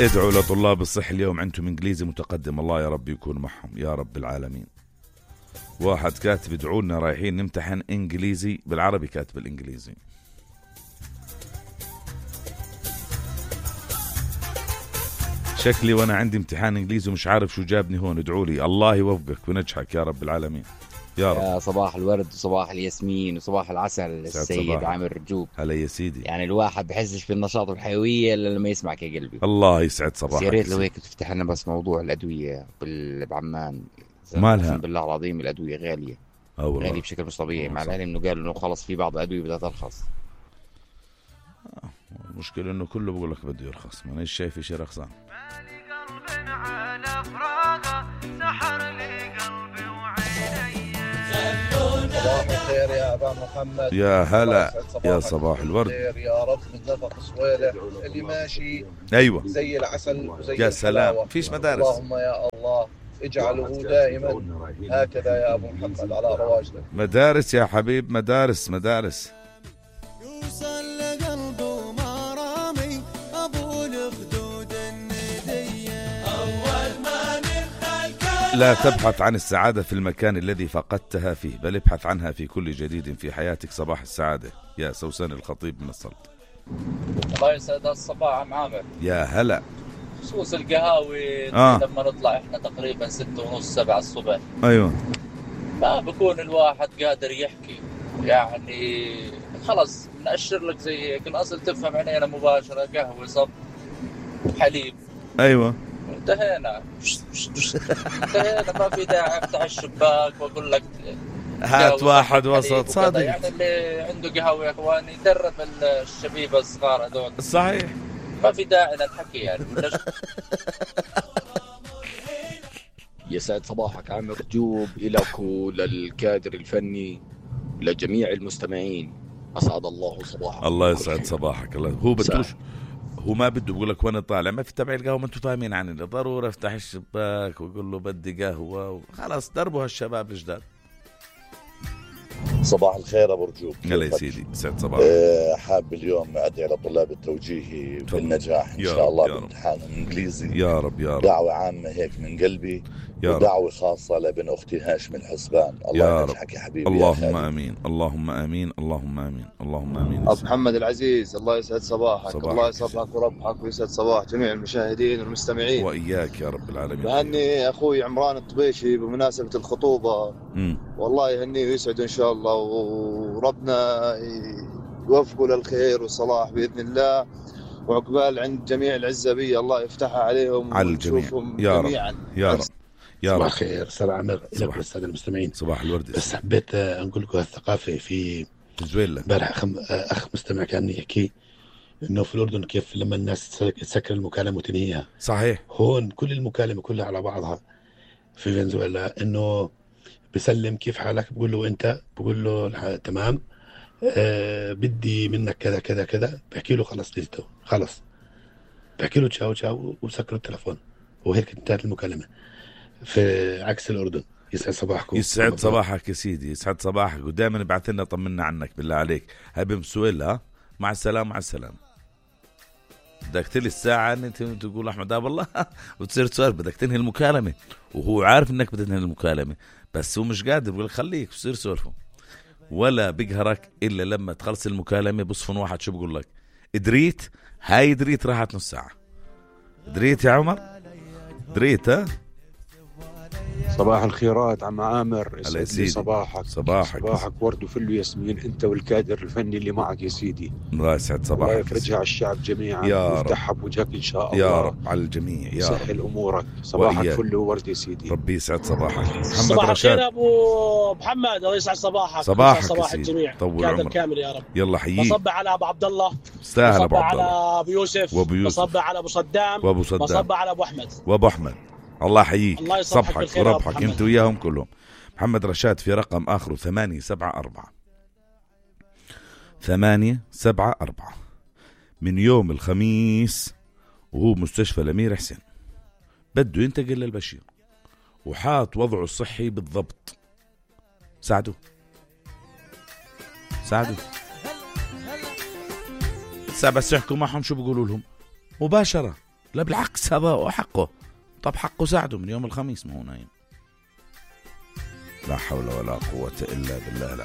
ادعوا لطلاب الصحة اليوم عندهم إنجليزي متقدم، الله يا رب يكون معهم يا رب العالمين. واحد كاتب ادعوا لنا رايحين نمتحن إنجليزي بالعربي، كاتب الإنجليزي. شكلي وانا عندي امتحان انجليزي ومش عارف شو جابني هون، ادعوا لي الله يوفقك ونجحك يا رب العالمين يا رب. يا صباح الورد وصباح الياسمين وصباح العسل السيد عامر رجوب. هلا يا سيدي. يعني الواحد بحسش بالنشاط والحيوية الا لما يسمعك يا قلبي. الله يسعد صباحك. يا ريت لو هيك تفتح لنا بس موضوع الأدوية بعمان. مالها؟ بالله العظيم الأدوية غالية غالية بشكل مش طبيعي، مع العلم انه قالوا انه خلص في بعض الأدوية بدها ترخص. المشكلة انه كله بقول لك بده يرخص، ما ايش شايف شيء رخصان. صباح الخير يا أبا محمد. يا هلا يا صباح الورد. يا رب من زفق صويلة اللي ماشي ايوه زي العسل وزي يا سلام. فيش مدارس. اللهم يا الله اجعله دائما هكذا يا أبو محمد على رواجنا. مدارس يا حبيب، مدارس مدارس. لا تبحث عن السعادة في المكان الذي فقدتها فيه، بل ابحث عنها في كل جديد في حياتك. صباح السعادة يا سوسن الخطيب من السلط. الله يسعد الصباح عم عامر. يا هلا. خصوص القهاوي لما نطلع احنا تقريبا 6:30 7 الصبح. ايوه. ما بكون الواحد قادر يحكي، يعني خلص نأشر لك زي هيك. الأصل تفهم علينا مباشرة، قهوة صب حليب. ايوه انتهينا ما في داعي افتح الشباك واقول لك هات واحد وسط صادق. يعني اللي عنده قهوة يا اخواني درب الشبيبة الصغار هذول. صحيح ما في داعي للحكي يعني. يسعد صباحك عامر رجوب إلك وللكادر الفني لجميع المستمعين، أسعد الله صباحك. الله يسعد صباحك. الله هو بدوش، هو ما بده بقول لك وانا طالع ما في تبع القهوة، ما انتم فاهمين عني، ضروري افتح الشباك ويقول له بدي قهوة خلاص دربوا هالشباب الجداد. صباح الخير ابو رجوب. هلا يا سيدي سعد صباحك. حاب اليوم ادعي لطلاب التوجيهي بالنجاح ان شاء الله بامتحان الانجليزي. يا رب يا رب. دعوة عامة هيك من قلبي ودعوة خاصة لابن اختي هاشم الحسبان. الله ينجحك يا حبيبي. اللهم امين اللهم امين اللهم امين اللهم امين. ابو محمد العزيز الله يسعد صباحك. الله يصبحك وربحك ويسعد صباح جميع المشاهدين والمستمعين واياك يا رب العالمين. بهني اخوي عمران الطبيشي بمناسبة الخطوبة. والله يهنيه ويسعده ان شاء الله، وربنا يوفقه للخير والصلاح بإذن الله، وعقبال عند جميع العزبية الله يفتحها عليهم على الجميع يا رب يا رب يا رب. صباح الخير سلام عمر لك والسادة المستمعين. صباح الورد. بس حبيت أقول لكم الثقافة في فنزويلا. امبارح أخ مستمع كان يحكي إنه في الأردن كيف لما الناس تسكر المكالمة وتنهيها. صحيح. هون كل المكالمة كلها على بعضها في فنزويلا، إنه بسلم كيف حالك، بقول له أنت، بقول له تمام، بدي منك كذا كذا كذا، بحكي له خلص ليته خلص، بحكي له تشاو تشاو وسكر التلفون وهيك انتهت المكالمة. في عكس الأردن. يسعد صباحكم. يسعد صباحك يا سيدي يسعد صباحك، ودائما ابعث لنا طمنا عنك بالله عليك. هاي بمسويلها مع السلامة مع السلامة. بدك تلي الساعة انت تقول احمد والله وتصير تسولف بدك تنهي المكالمة، وهو عارف انك بدك تنهي المكالمة بس هو مش قادر، بقول خليك وصير سولفه، ولا بيقهرك الا لما تخلص المكالمة. بصفن واحد شو بقول لك؟ دريت هاي دريت راحت نص ساعة. دريت يا عمر دريت. ها صباح الخيرات عم عامر. يا سيدي. صباحك ورد وفل وياسمين انت والكادر الفني اللي معك يا سيدي. الله يسعد صباحك. الله يفرجها على الشعب جميعا ويفتحها بوجهك ان شاء الله يا رب على الجميع يا رب. يسهل امورك. صباحك فل وورد يا سيدي. ربي يسعد صباحك. محمد صباح رشاد. الخير ابو محمد. الله يسعد صباحك. صباح الجميع. طول كادر عمرك كامل يا رب. يلا حييك. بصبح على ابو عبد الله، استاهل ابو بصبح عبد الله، على ابو يوسف، بصبح على ابو صدام، بصبح على ابو احمد وابو احمد. الله يحييك. الله صبحك وربحك انت وياهم كلهم. محمد رشاد في رقم آخره 874 874 من يوم الخميس، وهو مستشفى الأمير حسين بده ينتقل للبشير وحاط وضعه الصحي بالضبط. ساعدوا بس يحكوا معهم شو بيقولوا لهم مباشرة. لا بالعكس هذا حقه. طب حقه ساعده من يوم الخميس ما هو نايم. لا حول ولا قوة إلا بالله العظيم.